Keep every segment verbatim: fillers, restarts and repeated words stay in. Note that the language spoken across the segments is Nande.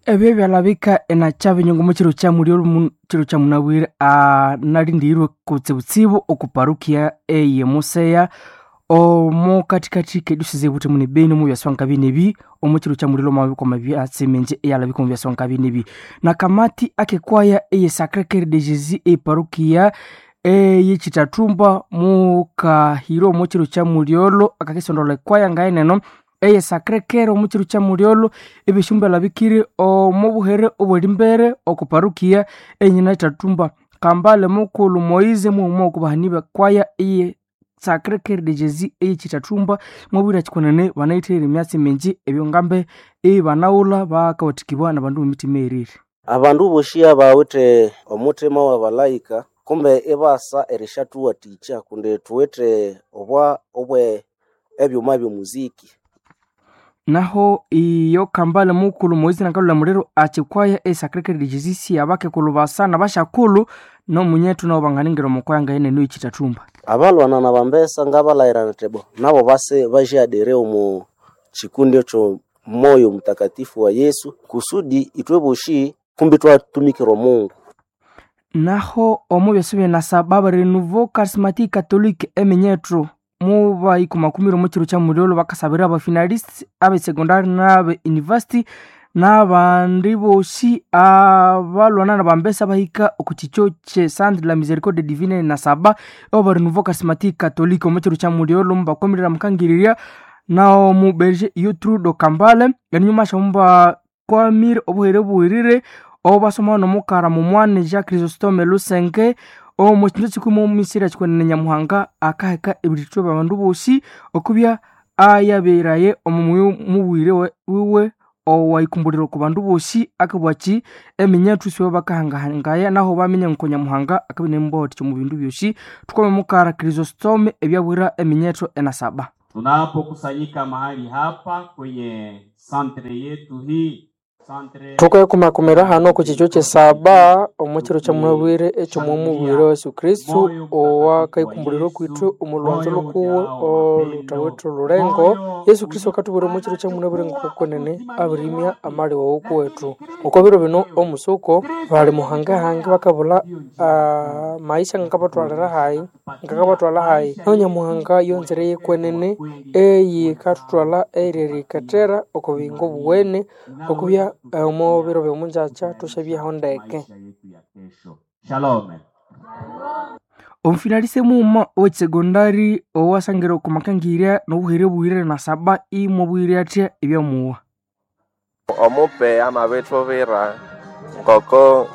Ebyo byalabika enakyabinyungu mukiro kyamulyo kiro kyamunabwire analindirirwe kutsibutsibu oku parukia eye Museya omo kathikathi k'ediocese y'Ebuthemu ne Beni omu byaswa nkabinebi omu kiro kyamuliro omwabikoma byatsi mingi eyalabika omu byaswa nkabinebi nakamati akekwaya eye Sacré Cœur de Jésus eparukia eyekitathumba mukahira omu kiro kyamulyolho akakisondolha ekwaya ngayeneno eye Sacré Cœur omu kiro kyamulyolho ebyeshumba byalabikire omu buhere obwerimbere oku parukia enyina itathumba Kambale mukulhu Moise mughuma oku bahani bekwaya eye Sacré Cœur de Jésus eyekitathumba mwabwire kyikunene banayitherire emyatsi mingi ebyongambe ibanaghulha bakawathikibwa nabandu b'emitima eyirire. Abandu bosi abawithe omuthima w'abalayika kumbe ibasa erishathuwathikya kundi thuwithe obwa obwe ebyuma by'omuziki. Naho iyo Kambale mukulhu Moise nakalhula muliro akikwaya e Sacré Cœur de Jésus siyabakekulhu basa nabashakulhu nomunyethu nabo banganingira omukwaya ngayeneno eyekitathumba. Abalwana nabambesa ngabalhayira nthi bo nabo base basyadere omu kikundi ekyo moyo mutakatifu wa Yesu kusudi ithwe bosi kumbi ithwatumikira omungu. Naho omu byasi byenasaba aba Renouveau Charismatique Catholique eminyethu mubayikumakumira omu kiro kyamulyolho bakasabira abafinalists abe secondary n'abe university n'abandi bosi abalwana nabambesa abahika oku kikyo kye Centre de la Miséricorde Divine nasaba oba Renouveau Charismatique Catholique omu kiro kyamulyolho mubakwamirira mukangirirya naomu Berger Yotrudo Kambale enyuma syamubakwamire obuhere obuwirire obasoma nomukara mumwane Jacques Chrysostome Lusenge omu kindu kikumi omumisiri ekikwenene Nyamuhanga akaheka ebirithwa byabandu bosi okubya ayaberaye omu muyi mubwire wiwe owayikumbulira oku bandu bosi akabwaki eminyethu sibo bakahangahangaya naho baminya ngoko Nyamuhanga akabya inimubawathikya omu bindu byosi. Thukome mukara Chrysostome ebyabwira eminyethu enasaba. Tunapokusanyika mahali hapa kwenye santre yetu hii santre Thukaikumakumira hano oku kikyo kyesaba omu kiro kyamunabwire eky'omwamubwire wa Yesu Kristu owakaikumbulira okwithu omu lhwanzo lhukuwe olhuthawithe olhulengo. Yesu Kristu akathubwira omu kiro kyamunabwire ngokwenene abirimya amali wawu kuwethu. Oko biro bino omusuko bali muhangahange bakabulha amaisha ngakabathwalira hayi ngakabathwalha hayi nahu Nyamuhanga yonzire yekwenene eyikathuthwalha eryerikethera oko buyingo obuwene okubya omu biro by'omungyakya thusyabyaho ndeke. maisha yetu ya kesho. Shalom. Omufinalise mughuma owekisegondari owasangira oku makangirya nobuhere obuwirire nasaba imwabwire athya ebyamuwa. Omupe amabithubwira ngoko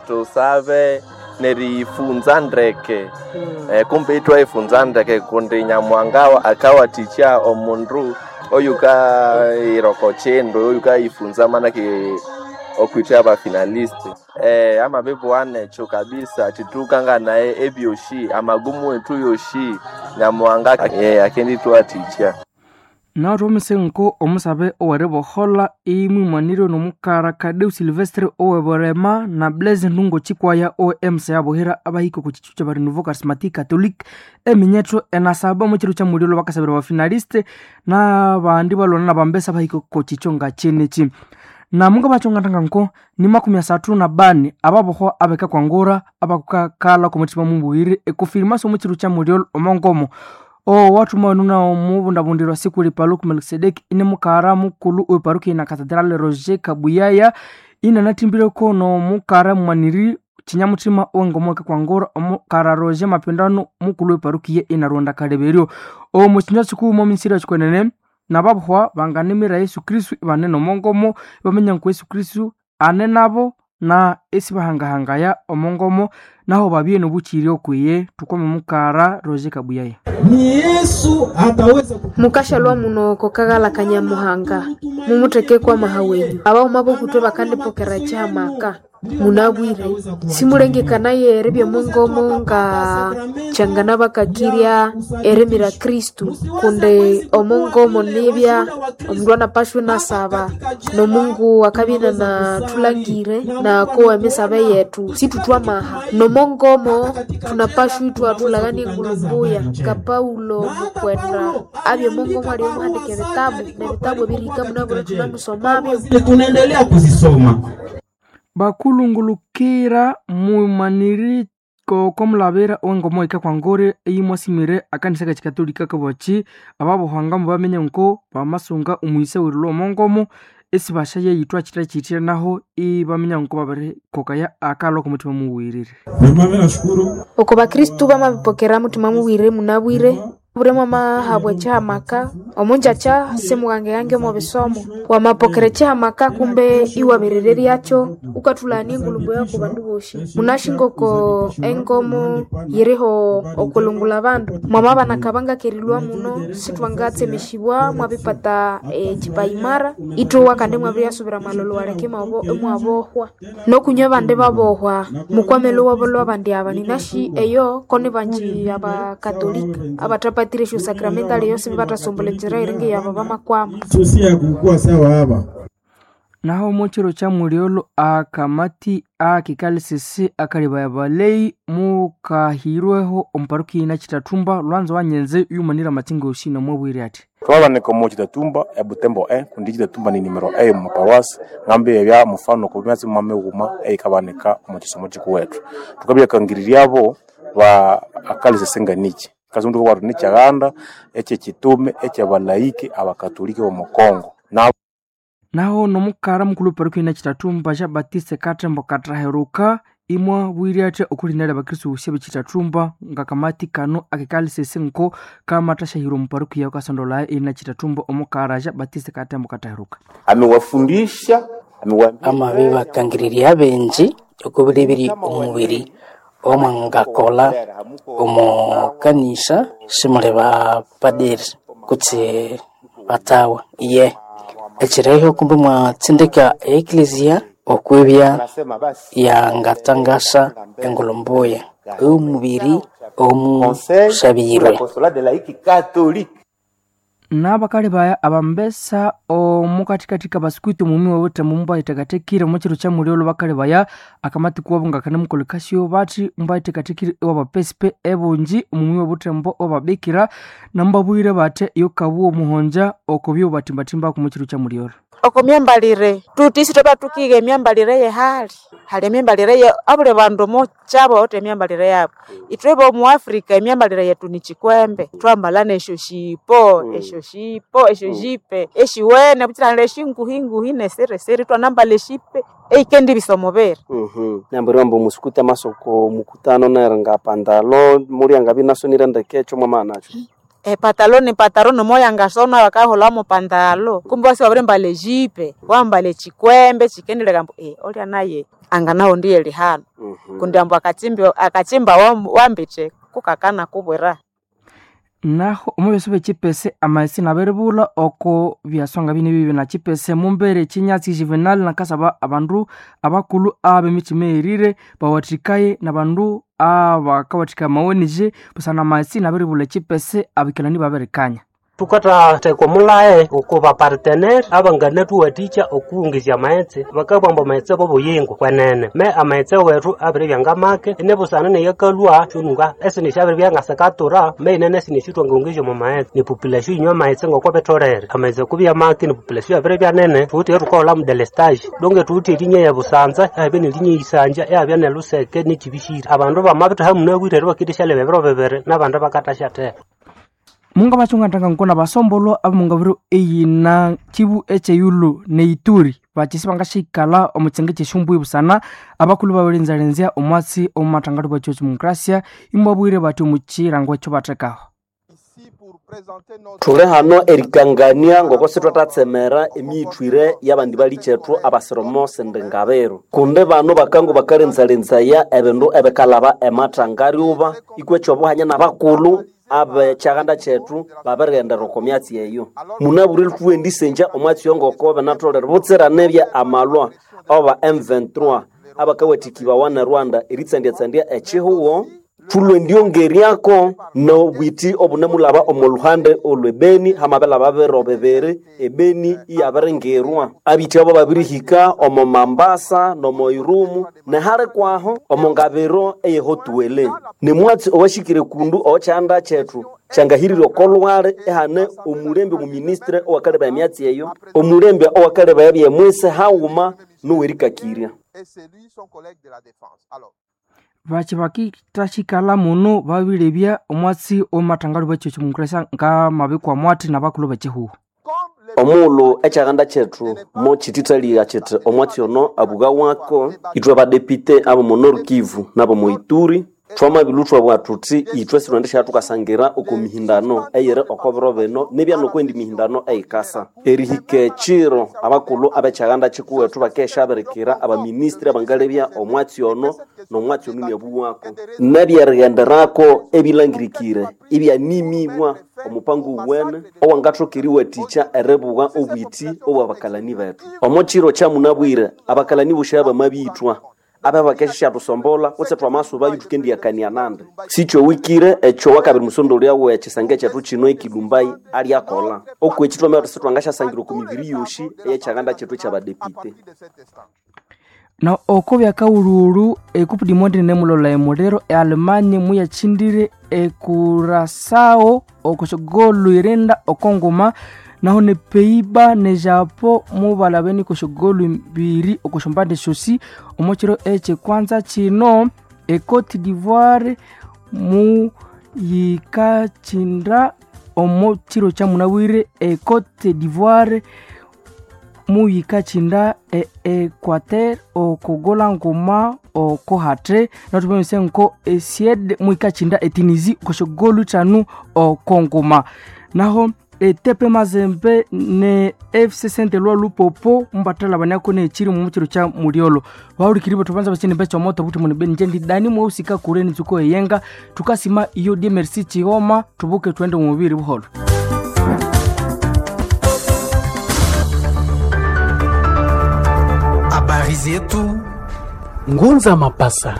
tusabe neriyifunza ndeke eh, kumbe ithwayifunza ndeke kundi Nyamuhanga akawathikya omundu oyukayira oko kindu oyukayifunza manake okwitha abafinalist eh, amabibugha nekyo kabisa thithukanganaye ebyosi amagumu wethu yosi Nyamuhanga eh, akendithuwathikya. Naho thwamisenko omusabe oweriboholha imwimanirwe nomukara Kadeu Silvestre oweburema na Blaise Ndungo Chikwaya owe M C Buhira abahika oku kikyo kyaba Renouveau Charismatique Catholique eminyethu enasaba omu kiro kyamulyolho bakasabira abafinaliste n'abandi balwana nabambesa abahika oku kikyo ngakyenekyi. Namunga bakyongatanga nko ni makumi asathu na bani ababohwa abekakwangura abakukakalha okomuthima mubuyire ekofirmasi omu kiro kyamulyolho omongomo owathuma nuna omubundabundirwa sikuli Paluku Melkisedeki ine mukara mukulhu oweparukia na Cathedral Roger Kabuyaya inanathimbireko nomukara mwaniri kinyamuthima owengomo ekakwangura omukara Roger Mapindano mukulhu oweparukia inaronda kaleberyo. Omu kinywa kikuwuma omumisiri ekikwenene nababohwa banganimira Yesu Kristu ibane nomongomo ibaminya ngu Yesu Kristu ane nabo na esibahangahangaya omongomo naho babye nobukyiri okwiye. Thukome mukara Roger Kabuyaya. Ni Yesu ataweza mukashalwa muno kokaghala kanyamuhanga mumutheke kwa maha wenyu abauma bokutwe bakandipokera kyamaka Munabwire simulengekanaye eribya omongomo nga kyangana bakakirya erimira Kristu, kundi omongomo nibya omundu anapashwa inasaba nomungu akabya inanathulangire nakowa emisabe yethu situthwamaha. Nomongomo thunapashwa ithwathulagania engulhu mbuya nga Paulo mukwenda abya omongomo aliwe muhandika ebitabu nebitabu ebirihika munabwire thunamusomabyo. Tunaendelea kuzisoma. Bakulungulukira mumaniri kokomulabira owengomo ika kwangore eyimwasimire akanisa kechikatolika kabachi ababuhanga mubamenye nko bamasunga omwisa werilwa omongomo esibasha yeyithwa chita chitira naho ibaminya nko babirikokaya akalwa komuthima muwirire. Mimi nashukuru Oko bakristu bamabipokera muthima muwirire munabwire buri mwamahabwa ekyihamaka omunjakya simugangegange omo bisomo wamapokera ekyihamaka kumbe iwabirereryakyo ukathulania engulumbu yaku bandu bosi. Munashinga oko engomo yiriho okulungula bandu mwamabana kabanga kerilwa muno sithwangatsemesibwa mwabipata ekipaimara ithowa kandi mwabiriyasubira amalolo waleke imwabohwa nokunywa abandi babohwa mukwamele wabolwa abandi aba ninashi eyo koni banji abakatolika abathapatire esyo sakramentali eyo sibibathasombolha enzira eringa eyabo bamakwama. Susi ya kukua sawa haba. Naho mochiro cha muliolo akamati akikalisisi akalibaya balei mukahirweho omuparuki ina Chitatumba lwanzo wanyenze yumanira matsinga oshi nomwabwire ati twabanika omu Chitatumba ebutembo e kundi Chitatumba ni nimero e omu maparuasi ngambi ebya mufano ku myatsi mwamighuma eyikabanika omu kisomo kikuwethu tukabyakangiriryabo ba akalisisi nganiki kazi mundu watu ni kyaganda ekyekitume ekyabalaiki abakatoliki b'omu Kongo na naho nomukara mukulu parokia ina Chitatumba Jean Baptiste Katembo Katraheruka imwa bwire athi okulinda abakristu bosi b'Chitatumba ngakamati kano akikalisisi nko kamathashahira omu parokia kasondolaya ina Chitatumba omukara Jean Baptiste Katembo Katraheruka amewafundisha amewaambia amabi bakangirirya abenji okubiribiri omubiri omwangakola omu kanisa simuli bapadiri kutse batawa iye ekireho kumbe mwatsindika eklezia okwibya yangatangasa engulhu mbuya omubiri omusabirwe. N'abakali baya abambesa omukathikathi kabasikuiti omumi w'obuthembo mubayithekathekire omu kiro kya mulyolho bakali baya akamati kuwabo ngakanamukolekasyo bathi mubayithekathekire ewabapesipe ebungi omumi w'obuthembo owababikira namubabwire bathi yokabuwa omuhonja okubyo batimbatimbaku omu kiro kya mulyolho. Oko myambalire tuti isi twaba tukiga emyambalire yehali hali emyambalire ye abuli bandu omukyabo bawithe emyambalire yabo ithwe bomu Africa emyambalire yethu ni kikwembe twambala nesyo shipo esyo shipo esyo jipe eshiwene bukyira eshinguhi nesirisiri twanambala eshipe eikendibisa omubiri. Nambwira ambu musikuti amasoko mukutano neri nga pandalo muryangabya inasonire ndeke ekyo mwamana nakyo. Epatalo ni pataro nomoyangasona bakaholamo pandalo kumbe wasi wabirimbala ejipe wambala ekikwembe kikendeleka ambu eh, olya naye anganawo ndiye lihano kundi ambu akachimba akachimba wambite kukakana kubwira. Naho omu byaso byekipese amaghetse nabiribulha oko byasonga bini bibi na kipese mumbere ekinyatsi Juvenal nakasaba abandu abakulhu ab'emitima eyirire bawathikaye nabandu abakawathika amawenije busana amaghetse nabiribulha ekipese abikalani babirikanya. Tukathatheka omulhae oko bapartenere abanganathuwathikya okuwungizya amaghetse bakabugha ambu amaghetse bobuyingo kwenene me amaghetse wethu abiribya ngamake inibusana neyakalhwa syonunga esindi syabiribya ngasikatura me inene esindi esyo thwangawungizya omo maghetse nepopulation yinywa amaghetse ngoko bitholere amaghetse kubya make nepopulation yabiribya nene thuwithe eyathukahulhamu delestage donge thuwithe erinya ya Busanza ihabya nerinya eyisanja ihabya neluseke nekibishiri abandu bamabithaha munabwire eri bakendisyalyaba ebiro bibiri nabandi bakathasyatheka. Munga bachungatanga nkona basombolwa abamungabiro eyina Kivu echeyulu neituri bachisi bangashikalha omu kyenge kyeshumbui busana abakulhu babirinzalenzya omwatsi omu mathangalo bwa demokrasia imwabwire bathi omu kirango ekyo bathekaho. Thuli hano erikangania ngoko sithwathatsemera emiyithwire y'abandi balikyethu abasiromo sindi ngabiro kundi bano bakangu bakalinzalenzaya ebindu ebikalhaba emathangariuba ikwe ekyobuhanya n'abakulhu abekyaganda kyethu babirighendera oko myatsi eyo munabwire thuwendisengya omwatsi oyo ngoko binatholere butsira nibya amalwa oba M twenty-three abakawathikibawa ne Rwanda eritsandyatsandya echihugo. Thulwe ndyongeryako nobwiti obunemulaba omo luhande olwe Beni hamabelaba biro bibiri ebeni iyabiringirwa. Abiti abo babirihika omo Mambasa nomo Irumu nehali kwaho omo ngabiro eyehotuwele. Nimwatsi owashikire kundu owokyanda kyethu kyangahirire okolwali ehane omulembe omuministre owakaleba emyatsi eyo, omulembe owakaleba ebyemwisi haghuma nowerikakirya. Bakyi bakithashikala muno babilebya omwatsi omumathangalyo bwekyo mukresa ngamabikwa mwathi nabakulhu bekihuho. Omughulhu ekyaganda kyethu mokyithithalya kyithi omwatsi ono abuga wako, ithwe badepite abomo Nord Kivu nabomo Ituri thwamabilhwa thwabugha thuthi ithwe sithwendisya thukasangira oko mihindano eyiri oko biro bino nibya nokwendi mihindano eyikasa. Erihika ekiro abakulhu abekyaganda kyikuwethu bakeshabirikira abaministri abangalebya omwatsi ono nomwatsi ono iniabuwako. Nebyerighenderako ebilangirikire ibyanimibwa omupango owuwene owangathoka eriwathikya eribugha obwiti obwabakalani bethu. Omo kiro kyamunabwire abakalani bosi bamabithwa abe bakesyathusombolha kutse twamasubayo thukendiyakania nandi. Sikyowikire ekyo wakabiri musondolya wekisenge kyethu kino ekilumbai alyakolha. Okweki twamabya sithwangasyasangira oko mibiri yosi eyekyaganda kyethu ekyabadepite. Na oko byakawulhuwulhu ecup du monde nemulola emuliro eAlemanha muyakyindire eCuraçao okosyogolu irinda okongoma naho ne Peiba ne Japo mubalabene kosyogolu mbiri okosyombande syosi. Omo kiro ekyekwanza kino eCote d'Ivoire muyikakyinda omo kiro kyamunabwire eCote d'Ivoire muyikakyinda e Equateur okogola nguma okohate nathubonese nko eSuede muyikakyinda eTunisie okosyogolu ithanu okonguma. Naho eTP Mazembe ne F C Saint Eloi Lupopo mubathalabaniako nekyiri omu kiro kya mulyolho. Bahulikiri bethu banza bakyinimba ekyomoto buthi muni beni nje ndi Dani mweusi kakure nitsuko eyenga thukasima iyo D M R C Kihoma thubuke thwende omubiri buholho. Habari zetu Ngunza Mapasa.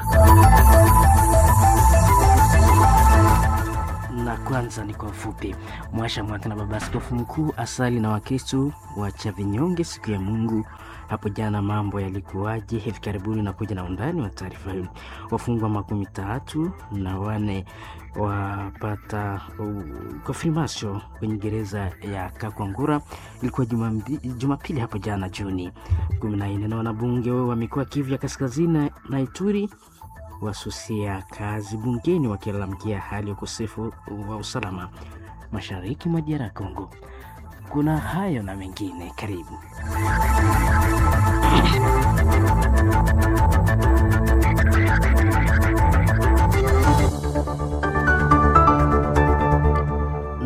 Na kwanza ni kwa ufupi. Mwasha Mwata na Baba Askofu Mkuu asali na Wakristo wa Chavinyonge siku ya Mungu hapo jana. Mambo yalikuwaje hivi karibuni na kuja na undani wa taarifa hii. Wafungwa makumi tatu na wane wapata konfirmasio kwenye gereza ya Kakwangura. Ilikuwa Jumapili hapo jana Juni kumi na nne. Na wanabunge wa mikoa Kivu ya Kaskazini na Ituri wasusia kazi bungeni wakilalamikia hali ya ukosefu wa usalama mashariki mwa D R Congo. Kuna hayo na mengine, karibu.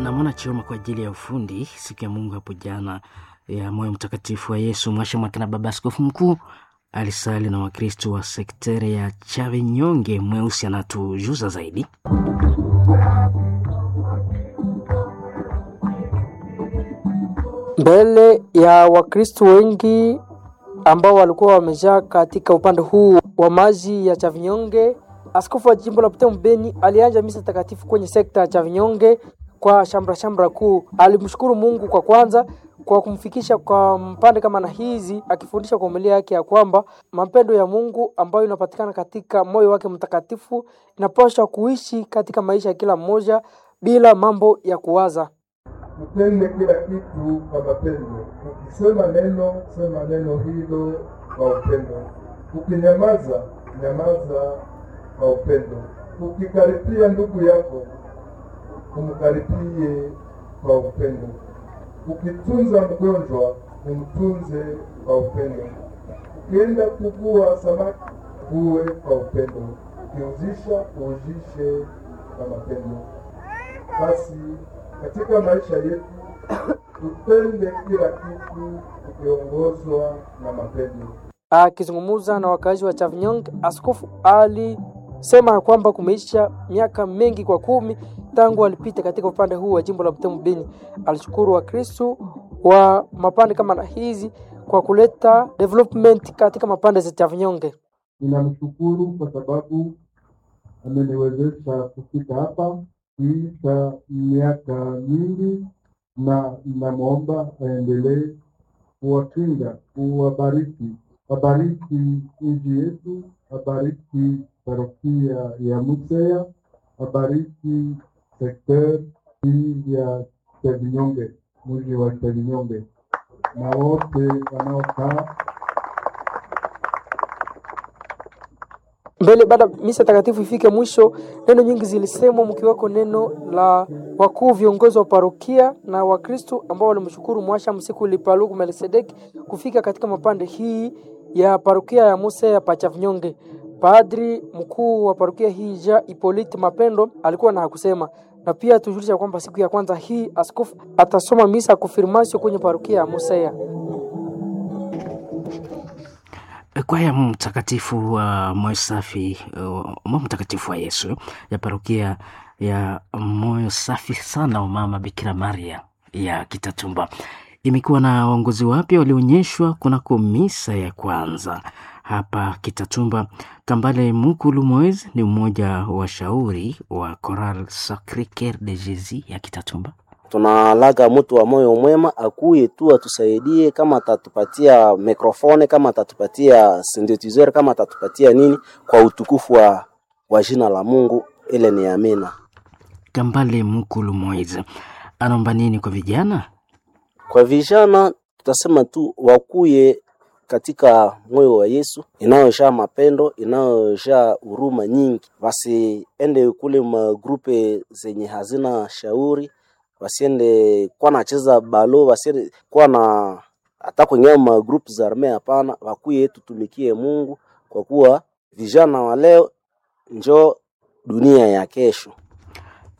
Namwona Chioma kwa ajili ya ufundi siku ya Mungu hapo jana ya moyo mtakatifu wa Yesu. Mwasha Mwakina Baba Askofu Mkuu alisali na Wakristo wa sektere ya Chavinyonge. Mweusi anatujuza zaidi. Mbele ya Wakristo wengi ambao walikuwa wamejaa katika upande huu wa maji ya Chavinyonge, askofu wa jimbo la Butembo Beni alianza misa takatifu kwenye sekta ya Chavinyonge kwa shamra shamra kuu. Alimshukuru Mungu kwa kwanza kwa kumfikisha kwa mpande kama na hizi, akifundisha kwa umilia yake ya kwamba mapendo ya Mungu ambayo inapatikana katika moyo wake mtakatifu inapaswa kuishi katika maisha ya kila mmoja bila mambo ya kuwaza. Utende kila kitu kwa mapendo. Ukisema neno, sema neno hilo kwa upendo. Ukinyamaza, nyamaza kwa upendo. Ukikaripia ndugu yako, umkaripie kwa upendo. Ukitunza mgonjwa, umtunze kwa upendo. Ukienda kuvua samaki, uwe kwa upendo. Ukiuzisha, uuzishe kwa mapendo. Basi katika maisha yetu tutende kila kitu tukiongozwa na mapendo. Akizungumza na wakazi wa Chavinyong, askofu alisema kwamba kumeisha miaka mengi kwa kumi tangu alipita katika upande huu wa jimbo la Butembo Beni. Alishukuru Wakristo wa mapande kama na hizi kwa kuleta development katika mapande za Chavinyonge. Ninamshukuru kwa sababu ameniwezesha kufika hapa kuisha miaka mingi, na ninamwomba aendelee kuwakinga, kuwabariki, abariki nchi yetu, abariki parokia ya Museya, abariki sekter hii ya Chavinyonge, mji wa Chavinyonge, na wote wanaokaa Mbele baada misa takatifu ifike mwisho, neno nyingi zilisemwa, mkiweko neno la wakuu viongozi wa parokia na Wakristo ambao walimshukuru Mwasha Msiku Lipaluku Melkisedeki kufika katika mapande hii ya parokia ya Musa ya Pachavinyonge. Padri mkuu wa parokia hii Ja Hippolyte Mapendo alikuwa na hakusema, na pia tujulisha kwamba siku ya kwanza hii askofu atasoma misa konfirmasio kwenye parokia ya Museya. Kwaya Mtakatifu wa Moyo Safi, uh, Moyo Mtakatifu wa Yesu ya parokia ya Moyo Safi sana wa Mama Bikira Maria ya Kitatumba imekuwa na waongozi wapya walioonyeshwa kunako misa ya kwanza hapa Kitatumba. Kambale Mukulu Moise ni mmoja wa shauri wa Choral Sacre Coeur de Jesus ya Kitatumba. Tunalaga mtu wa moyo mwema akuye tu atusaidie, kama atatupatia mikrofone, kama atatupatia synthesizer, kama atatupatia nini, kwa utukufu wa, wa jina la Mungu. Ile ni amina. Kambale Mukulu Moise anaomba nini kwa vijana? Kwa vijana tutasema tu wakuye katika moyo wa Yesu inayojaa mapendo, inayojaa huruma nyingi, wasiende kule magrupe zenye hazina shauri, wasiende kwa nacheza balo, wasiende kwa na hata kwenye magrupu za arme. Hapana, wakuye tutumikie Mungu, kwa kuwa vijana wa leo njo dunia ya kesho.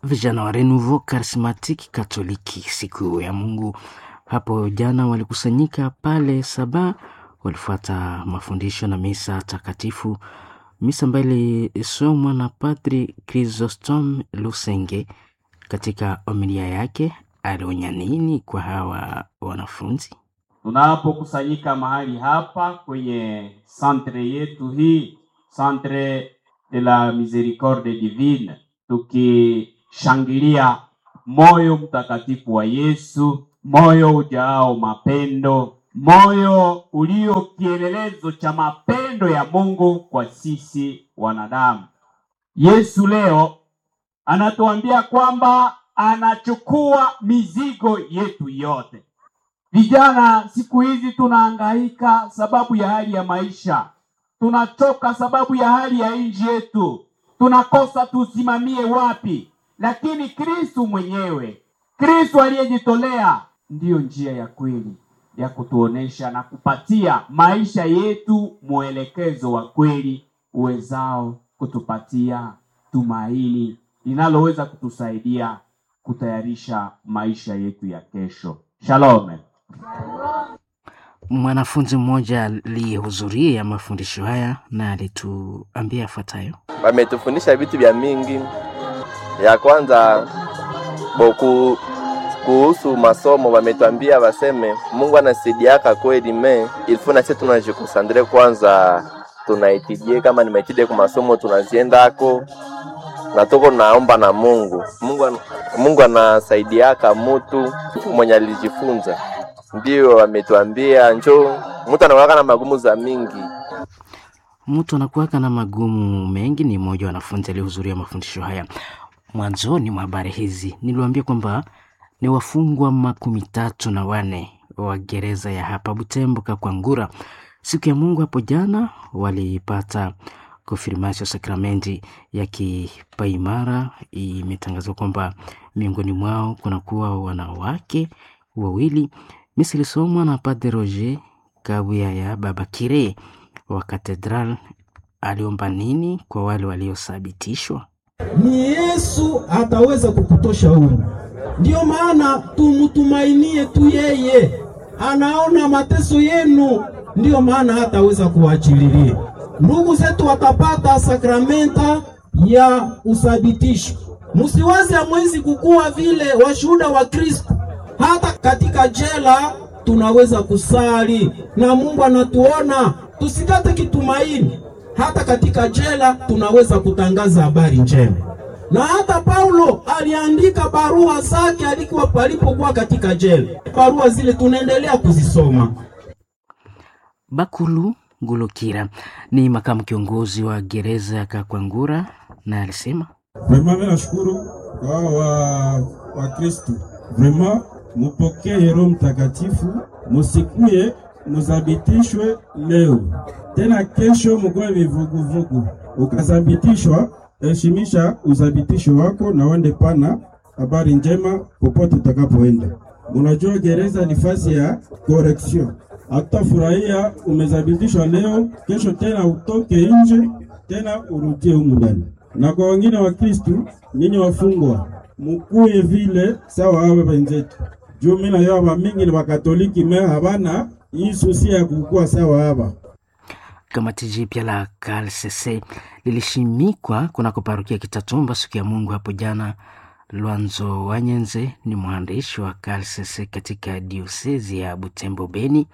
Vijana wa Renouveau Charismatique Katoliki siku ya Mungu hapo jana walikusanyika pale Saba, walifuata mafundisho na misa takatifu, misa ambayo ilisomwa na Padri Chrysostom Lusenge. Katika homilia yake alionya nini kwa hawa wanafunzi? Tunapokusanyika mahali hapa kwenye santre yetu hii, Centre de la Miséricorde Divine, tukishangilia moyo mtakatifu wa Yesu, moyo ujaao mapendo, moyo ulio kielelezo cha mapendo ya Mungu kwa sisi wanadamu. Yesu leo anatuambia kwamba anachukua mizigo yetu yote. Vijana siku hizi tunahangaika sababu ya hali ya maisha, tunachoka sababu ya hali ya nchi yetu, tunakosa tusimamie wapi. Lakini Kristu mwenyewe, Kristu aliyejitolea, ndiyo njia ya kweli ya kutuonesha na kupatia maisha yetu mwelekezo wa kweli uwezao kutupatia tumaini linaloweza kutusaidia kutayarisha maisha yetu ya kesho. Shalom. Mwanafunzi mmoja alihudhuria mafundisho haya na alituambia yafuatayo. Wametufundisha vitu vya mingi. Ya kwanza boku kuhusu masomo wametuambia waseme Mungu anasaidiaka kweli, me ilifo na sisi tunajikonsandre kwanza, tunaitidie kama ni maitide kwa masomo tunaziendako na tuko naomba na Mungu. Mungu, an- Mungu anasaidiaka mutu mwenye alijifunza, ndio wametuambia njo mtu anakuwaka na magumu za mingi. Mtu anakuwaka na magumu mengi. Ni mmoja wa wanafunzi aliyehudhuria mafundisho haya. Mwanzoni mwa habari hizi niliwaambia kwamba ni wafungwa makumi tatu na wane wa gereza ya hapa Butembo Kakwangura. Siku ya Mungu hapo jana walipata konfirmasio sakramenti ya kipaimara. Imetangazwa kwamba miongoni mwao kunakuwa wanawake wawili. Misa ilisomwa na Padre Roger Kabuya ya Baba Kire wa Katedral. Aliomba nini kwa wale waliothibitishwa? Ni Yesu ataweza kukutosha humu. Ndiyo maana tumutumainie tu yeye, anaona mateso yenu, ndiyo maana hataweza kuachililia. Ndugu zetu watapata sakramenta ya uthabitisho. Musiwaze hamwezi kukuwa vile washuhuda wa Kristo. Hata katika jela tunaweza kusali na Mungu anatuona. Tusikate kitumaini. Hata katika jela tunaweza kutangaza habari njema. Na hata Paulo aliandika barua zake alikuwa alipokuwa katika jela. Barua zile tunaendelea kuzisoma. Bakulu Ngulukira ni makamu kiongozi wa gereza ya Kakwangura na alisema Vrema, mimi nashukuru kwa wa Wakristu, vrema mupokee Roho Mtakatifu, musikuye muzabitishwe leo tena kesho mukuwe vivuguvugu. Ukazabitishwa, heshimisha uzabitisho wako na uende pana habari njema popote utakapoenda. Unajua gereza ni fasi ya correction. Hatutafurahia umezabitishwa leo, kesho tena utoke nje tena urudie humu ndani. Na kwa wengine wa Kristu, nyinyi wafungwa mukuye vile sawa awe wenzetu juu mimi nayo ba mingi ni Wakatoliki me habana hii susi ya kukua sawa haba. Kamati jipya la K L C C lilishimikwa kunako parokia Kitatumba siku ya Mungu hapo jana. Lwanzo Wanyenze ni mwandishi wa K L C C katika diosezi ya Butembo Beni,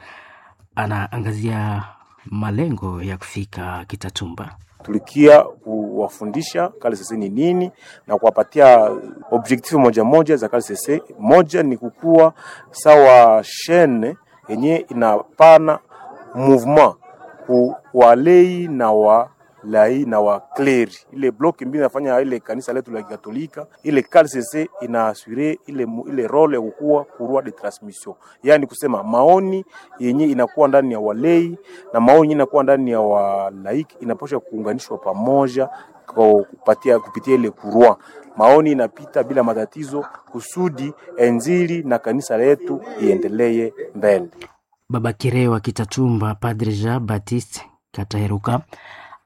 anaangazia malengo ya kufika Kitatumba. Tulikia kuwafundisha K L C C ni nini na kuwapatia objective moja moja za K L C C. Moja ni kukua sawa shene yenye inapana mouvement ku walei na walai na wakleri, ile block mbili inafanya ile kanisa letu la Kikatolika. Ile K L C C inaasure ile, ile role ya kukua courroie de transmission, yani kusema maoni yenye inakuwa ndani ya walei na maoni yenye inakuwa ndani ya walaiki inapaswa kuunganishwa pamoja kwa kupatia kupitia ile courroie. Maoni inapita bila matatizo kusudi injili na kanisa letu iendelee mbele. Baba Kireo wa Kitatumba, Padre Jean Baptiste Kataheruka,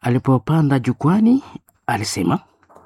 alipopanda jukwani alisema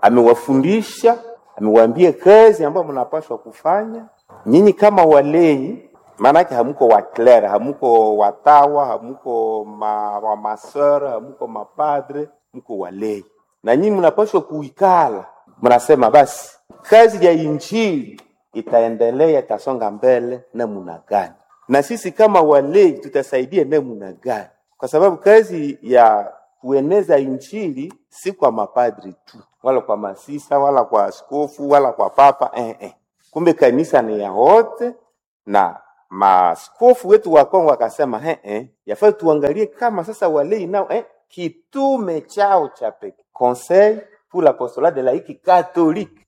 amewafundisha, amewaambia kazi ambayo mnapaswa kufanya nyinyi kama walei. Maanake hamuko waklere, hamuko watawa, hamuko ma, wa maseur, hamuko mapadre, muko walei na nyinyi mnapaswa kuikala, mnasema basi kazi ya injili itaendelea, itasonga mbele namna gani, na sisi kama walei tutasaidia namna gani, kwa sababu kazi ya kueneza injili si kwa mapadri tu wala kwa masisa wala kwa askofu wala kwa papa eh, eh. Kumbe kanisa ni ya wote, na maaskofu wetu wa Kongo akasema eh, eh, yafaa tuangalie kama sasa walei nao eh, kitume chao cha pekee, Conseil pour l'apostolat de laïque catholique.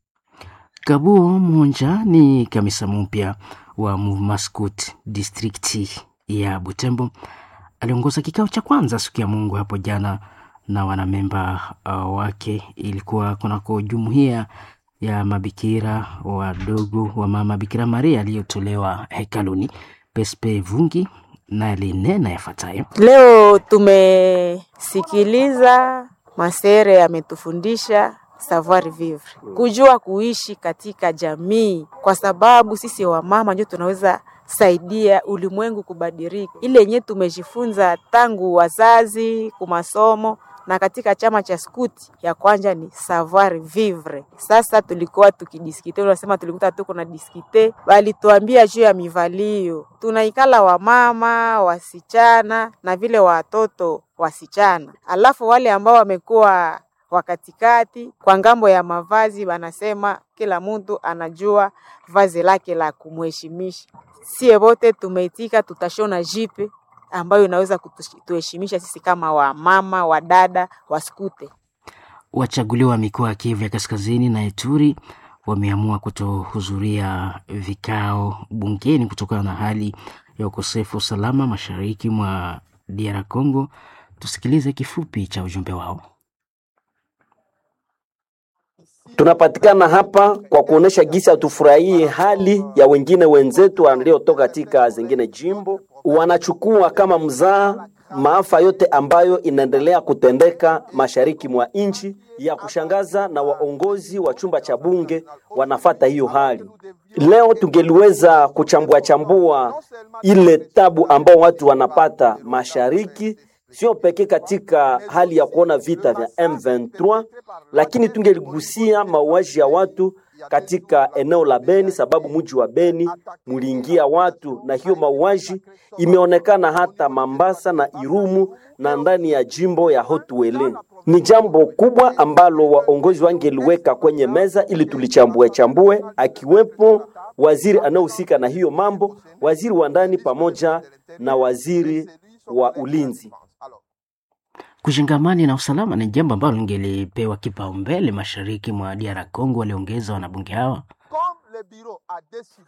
Kabuo Munja ni kamisa mpya wa Mouvement Scout distrikti ya Butembo. Aliongoza kikao cha kwanza siku ya Mungu hapo jana na wanamemba uh, wake. Ilikuwa kunako jumuiya ya mabikira wadogo wa mama Bikira Maria aliyotolewa hekaluni. Pespe Vungi naye alinena yafuatayo. Leo tumesikiliza masere ametufundisha savoir vivre, kujua kuishi katika jamii, kwa sababu sisi wamama ndio tunaweza saidia ulimwengu kubadilika. Ile yenye tumejifunza tangu wazazi kumasomo na katika chama cha skuti ya kwanja ni savoir vivre. Sasa tulikuwa tukidiskite, unasema tulikuta tuko na diskite, walituambia juu ya mivalio, tunaikala wamama wasichana na vile watoto wasichana, alafu wale ambao wamekuwa wakatikati kwa ngambo ya mavazi, wanasema kila mtu anajua vazi lake la kumheshimisha. Sie wote tumeitika, tutashona jipe ambayo inaweza kutuheshimisha sisi kama wamama, wadada, waskute. Wachaguliwa wa mikoa ya Kivu ya Kaskazini na Ituri wameamua kutohudhuria vikao bungeni kutokana na hali ya ukosefu wa usalama mashariki mwa D R Congo. Tusikilize kifupi cha ujumbe wao. Tunapatikana hapa kwa kuonesha gisi hatufurahie hali ya wengine wenzetu waliotoka katika zingine jimbo, wanachukua kama mzaa maafa yote ambayo inaendelea kutendeka mashariki mwa nchi. Ya kushangaza, na waongozi wa chumba cha bunge wanafata hiyo hali. Leo tungeliweza kuchambua chambua ile tabu ambao watu wanapata mashariki, sio pekee katika hali ya kuona vita vya M ishirini na tatu, lakini tungeligusia mauaji ya watu katika eneo la Beni, sababu mji wa Beni muliingia watu na hiyo mauaji imeonekana hata Mambasa na Irumu na ndani ya jimbo ya Haut-Uele. Ni jambo kubwa ambalo waongozi wangeliweka kwenye meza ili tulichambue chambue, akiwepo waziri anayehusika na hiyo mambo, waziri wa ndani pamoja na waziri wa ulinzi. Kujenga amani na usalama ni jambo ambalo lingelipewa kipaumbele mashariki mwa D R Congo, waliongeza wanabunge hawa.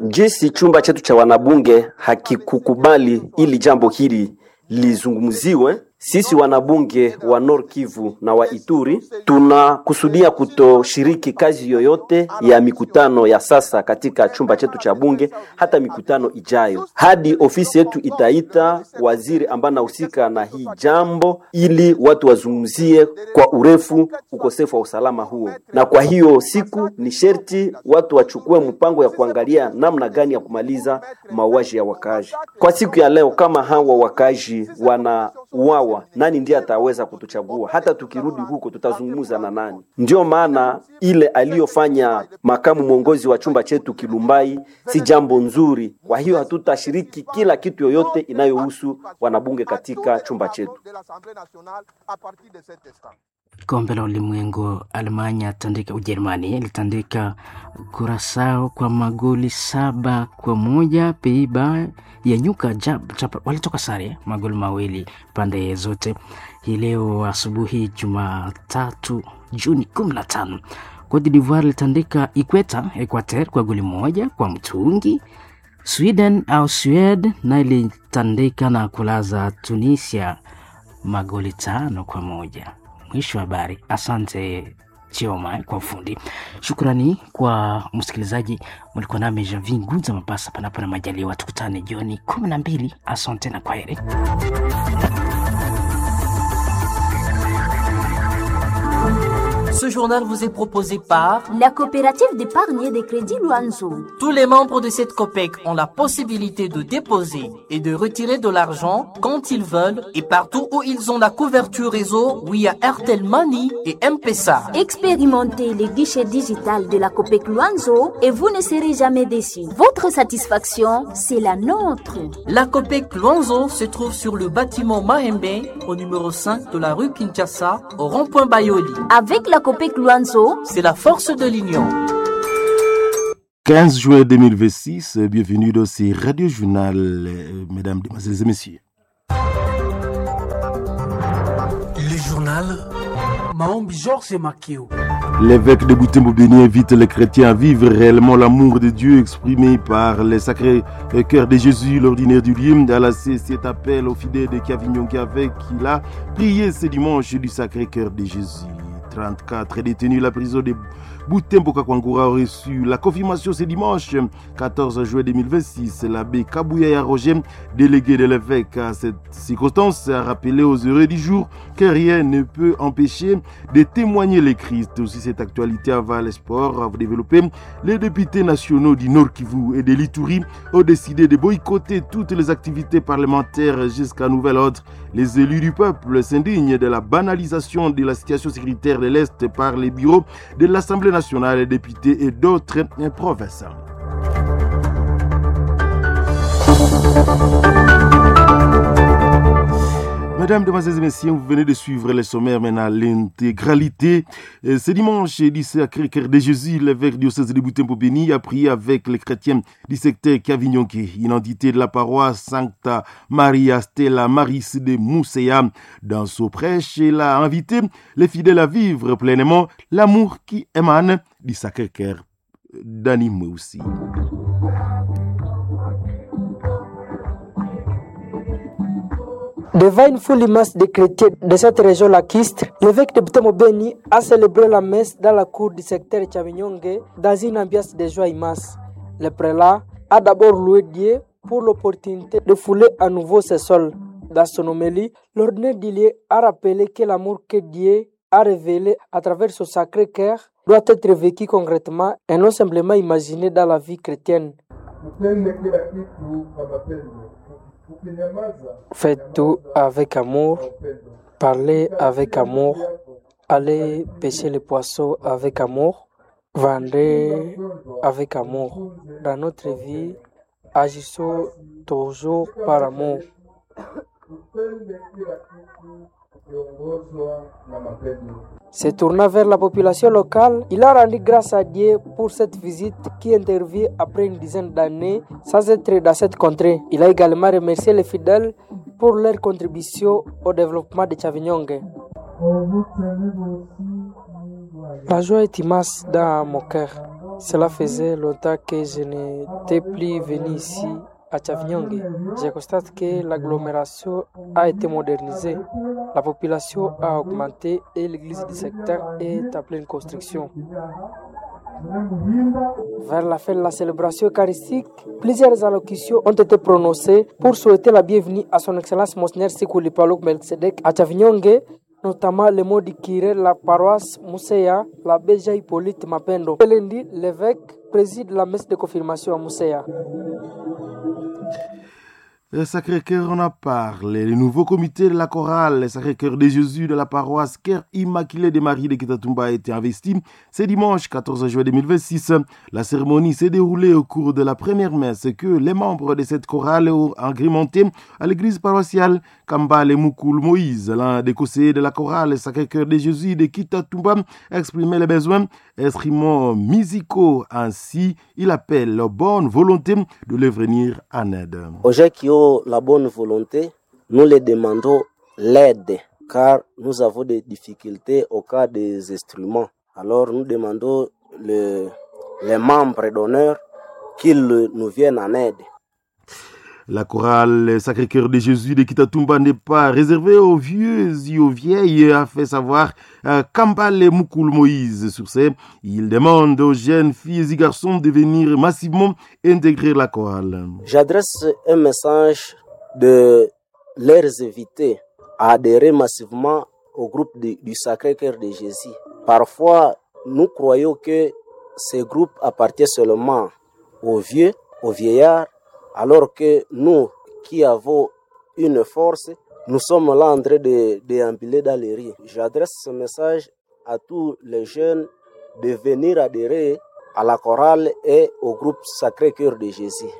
Jinsi chumba chetu cha wanabunge hakikukubali ili jambo hili lizungumziwe, sisi wanabunge wa Nord Kivu na wa Ituri tunakusudia kutoshiriki kazi yoyote ya mikutano ya sasa katika chumba chetu cha bunge, hata mikutano ijayo, hadi ofisi yetu itaita waziri ambaye anahusika na hii jambo, ili watu wazungumzie kwa urefu ukosefu wa usalama huo. Na kwa hiyo siku ni sherti watu wachukue mpango ya kuangalia namna gani ya kumaliza mauaji ya wakaaji. Kwa siku ya leo, kama hawa wakaaji wanauawa, nani ndiye ataweza kutuchagua? Hata tukirudi huko tutazungumza na nani? Ndiyo maana ile aliyofanya makamu mwongozi wa chumba chetu Kilumbai si jambo nzuri. Kwa hiyo hatutashiriki kila kitu yoyote inayohusu wanabunge katika chumba chetu. Kombe la Ulimwengu, Almanya tandika Ujerumani ilitandika Kurasao kwa magoli saba kwa moja. Peiba ya nyuka jab, jab, walitoka sare magoli mawili pande zote. Hii leo asubuhi Jumatatu Juni kumi na tano Cote d'Ivoire ilitandika Ikweta Equateur kwa goli moja kwa mtungi. Sweden au Swed na ilitandika na kulaza Tunisia magoli tano kwa moja. Mwisho wa habari. Asante Chioma kwa ufundi. Shukrani kwa msikilizaji, mlikuwa nami Janvi Ngunza Mapasa, panapo na majaliwa, tukutane jioni kumi na mbili. Asante na kwaheri. Ce journal vous est proposé par la coopérative d'épargne et de crédit Luanzo. Tous les membres de cette COPEC ont la possibilité de déposer et de retirer de l'argent quand ils veulent et partout où ils ont la couverture réseau via Airtel Money et M-Pesa. Expérimentez les guichets digital de la COPEC Luanzo et vous ne serez jamais déçus. Votre satisfaction, c'est la nôtre. La COPEC Luanzo se trouve sur le bâtiment Mahembe au numéro cinq de la rue Kinshasa au rond-point Bayoli. Avec la COPEC Luanzo, c'est la force de l'union. quinze juin deux mille vingt-six, bienvenue dans ce Radio Journal, mesdames, mesdemoiselles et messieurs. Le journal Maombi Georges Makeo. L'évêque de Butembo-Beni invite les chrétiens à vivre réellement l'amour de Dieu exprimé par le Sacré Cœur de Jésus. L'ordinaire du lieu a lancé cet appel aux fidèles de Kavinyonga avec qui il a prié ce dimanche du Sacré Cœur de Jésus. trente-quatre détenus la prison de Butembo Kakwangura a reçu la confirmation ce dimanche quatorze juin deux mille vingt-six. L'abbé Kabouya Roger, délégué de l'évêque à cette circonstance, a rappelé aux heureux du jour que rien ne peut empêcher de témoigner le Christ. Aussi, cette actualité aval espoir à développer. Les députés nationaux du Nord Kivu et de l'Ituri ont décidé de boycotter toutes les activités parlementaires jusqu'à nouvel ordre. Les élus du peuple s'indignent de la banalisation de la situation sécuritaire de l'Est par les bureaux de l'Assemblée nationale, les députés et d'autres provinces. Mesdames, Mesdemoiselles et Messieurs, vous venez de suivre les sommaires maintenant l'intégralité. Ce dimanche, du Sacré-Cœur de Jésus, l'évêque diocèse de Butembo-Beni a prié avec les chrétiens du secteur Kavinyonke, une entité de la paroisse Sancta Maria Stella Maris de Mousséa. Dans son prêche, il a invité les fidèles à vivre pleinement l'amour qui émane du Sacré-Cœur d'Annie aussi. Devant une foule immense de chrétiens de cette région lacustre, l'évêque de Butembo-Beni a célébré la messe dans la cour du secteur Tchavinyonge dans une ambiance de joie immense. Le prélat a d'abord loué Dieu pour l'opportunité de fouler à nouveau ses sols. Dans son homélie, l'ordinaire d'Ilié a rappelé que l'amour que Dieu a révélé à travers son sacré cœur doit être vécu concrètement et non simplement imaginé dans la vie chrétienne. Faites tout avec amour, parlez avec amour, allez pêcher les poissons avec amour, Vendez avec amour. Dans notre vie, agissons toujours par amour. Tupende kila kitu tukiongozwa na mapendo. Se tournant vers la population locale, il a rendu grâce à Dieu pour cette visite qui intervient après une dizaine d'années sans être dans cette contrée. Il a également remercié les fidèles pour leur contribution au développement de Chavignongue. La joie est immense dans mon cœur. Cela faisait longtemps que je n'étais plus venu ici à Chavignongue. Je constate que l'agglomération a été modernisée, la population a augmenté et l'église du secteur est en pleine construction. Vers la fin de la célébration eucharistique, plusieurs allocutions ont été prononcées pour souhaiter la bienvenue à son Excellence Monseigneur Sikuli Palok Melchizedek à Chavignongue, notamment le mot du curé de la paroisse Mousséa, l'abbé Jean Hippolyte Mapendo. Lundi, l'évêque préside la messe de confirmation à Mousséa. Le Sacré-Cœur en a parlé. Le nouveau comité de la chorale, le Sacré-Cœur de Jésus de la paroisse Cœur Immaculé de Marie de Kitatumba a été investi. C'est dimanche quatorze juin deux mille vingt-six. La cérémonie s'est déroulée au cours de la première messe que les membres de cette chorale ont agrémenté à l'église paroissiale Kambale Moukoul Moïse. L'un des conseillers de la chorale Sacré-Cœur de Jésus de Kitatumba exprimait les besoins instruments musicaux. Ainsi, il appelle la bonne volonté de les venir en aide. Aux gens qui ont la bonne volonté, nous les demandons l'aide car nous avons des difficultés au cas des instruments. Alors nous demandons le, les membres d'honneur qu'ils nous viennent en aide. La chorale Sacré-Cœur de Jésus de Kitatumba n'est pas réservée aux vieux et aux vieilles, a fait savoir euh, Kambale Moukoul Moïse. Sur ce, il demande aux jeunes filles et garçons de venir massivement intégrer la chorale. J'adresse un message de leurs invités à adhérer massivement au groupe de, du Sacré-Cœur de Jésus. Parfois, nous croyons que ce groupe appartient seulement aux vieux, aux vieillards, alors que nous qui avons une force, nous sommes là en train de déambuler dans les rues. J'adresse ce message à tous les jeunes de venir adhérer à la chorale et au groupe Sacré-Cœur de Jésus.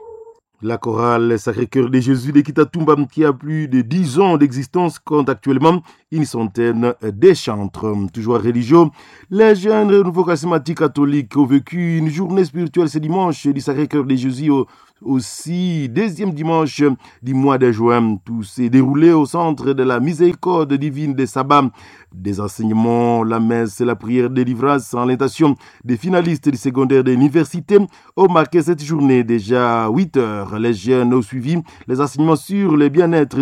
La chorale Sacré-Cœur de Jésus de Kitatumba, qui a plus de dix ans d'existence, compte actuellement une centaine de chantres. Toujours religieux, les jeunes renouveaux charismatiques catholiques ont vécu une journée spirituelle ce dimanche du Sacré-Cœur de Jésus, aussi deuxième dimanche du mois de juin. Tout s'est déroulé au centre de la miséricorde divine de Saba. Des enseignements, la messe et la prière de délivrance en l'intention des finalistes du secondaire de l'université ont marqué cette journée. Déjà huit heures, les jeunes ont suivi les enseignements sur le bien-être